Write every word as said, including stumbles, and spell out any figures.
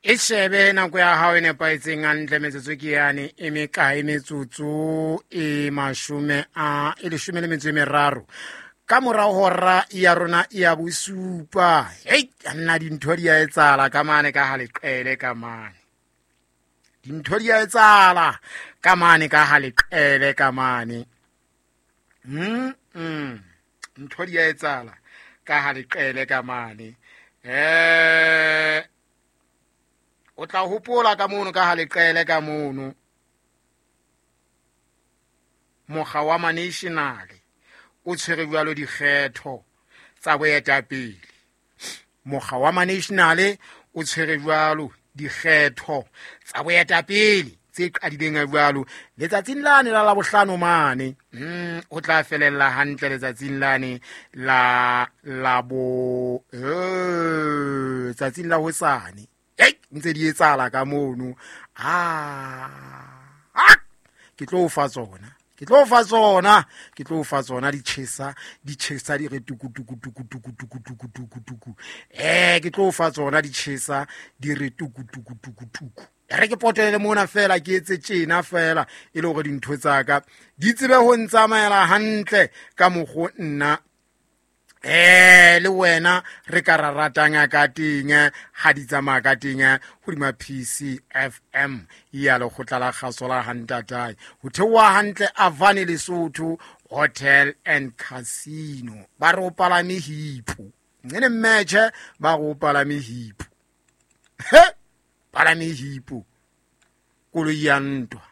E shebe nako ya hao e nepahetseng hantle metsotso ke yane e mekae metsotso e mashome a e leshome le metso e meraro ka morao hora ya rona ya bosupa. Hei, nna dintho di a etsahala ka mane ka ha leqele ka mane. Dintho di a etsahala ka mane ka ha leqele ka mane. Mm mm. Ntho di a etsahala ka ha leqele ka mane. Eh o tla hopola ka mono ka ha leqele ka mono. Mokga wa National o tshwere jwalo dikgetho tsa boetapele. Mokga wa National o tshwere jwalo dikgetho tsa boetapele tse qadileng jwalo letsatsing lane la Labohlano mane. Mm o tla felella hantle letsatsing lane la labo eh tsatsing la hosane. Ei ntse di etsahala ka mono. Ah, ke tlo fa tsona. Ke tlo fa tsona, ke tlo fa tsona di tjhesa, di tjhesa di re tuku tuku tuku tuku tuku tuku tuku tuku. Eh ke tlo fa tsona di tjhesa di re tuku tuku tuku tuku. Re ke potele mona fela ke etse tjena fela e le hore dintho tsa ka di tsebe ho ntsamaela hantle ka mokgo nna eh le wena re ka ra ratang ka teng ha di tsamaya ka teng hodima P C F M ya lekgotla la kgaso la Hantatae ho theoha hantle Avani Lesotho Hotel and Casino ba re o palame hipo nene mmetjhe ba re o palame hipo he palame hipo koloi ya ntwa.